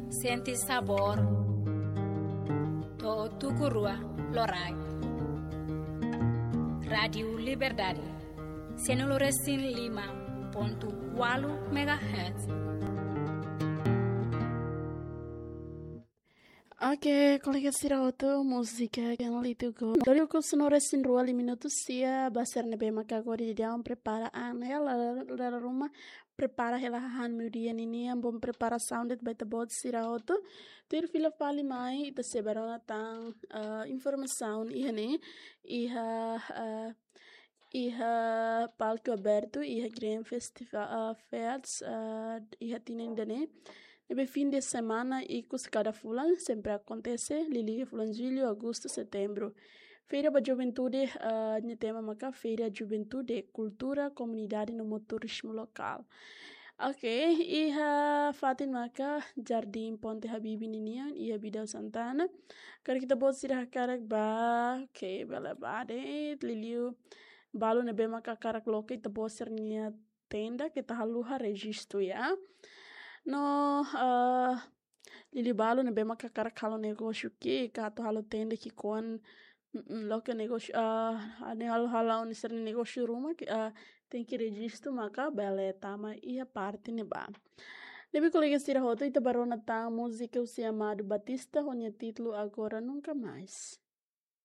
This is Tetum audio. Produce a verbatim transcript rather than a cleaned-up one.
Sente sabór. To'o tuku rua loraik. Rádiu Liberdade. Sianulu resin lima pontu ualu megahertz. Oke, kolega sira hotu, múzika Can't Let You Go. Dori uku sino resin rua li minutu sia, ba sira ne'ebé maka agora de dia prepara an, ya, la, la, la, ruma, prepara hela hahán meiudia ninian, bom preparasaun de'it ba ita-boot sira hotu. Tuir fila fali mai, ita sei bá rona tan, ah, informasaun iha ne'e, iha, ah, iha palku abertu, iha Green Festival, ah, Fest, ah, iha tinan ida-ne'e. Ne'ebé fin de semana ikus kada fulan, sempre akontese, liuliu fulan jullu, agostu, setembru. Feira ba Juventude, ah, nia tema maka Feira Juventude, Kultura, Komunidade no mós Turizmu Lokál. Oke, iha fatin maka Jardín Ponte Habibie ninian, iha Bidau Santana. Karik ita-boot sira hakarak bá, oke, bele bá de'it, liuliu balu ne'ebé maka hakarak loke ita-boot sira-nia tenda, keta haluha rejistu ya. No, eh, liuliu balu ne'ebé maka hakarak halo negósiu ki'ik, ka atu halo tenda ki'ik oan, mm, mm, loke negósiu, eh, ne'e halo, halo hanesan negósiu ruma, ke, eh, tenke rejistu maka bele tama iha parte ne'ebá. Ne'ebé kolega sira hotu, ita bá rona tan múzika husi Amado Batista, ho nia títulu Agora Nunca Mais.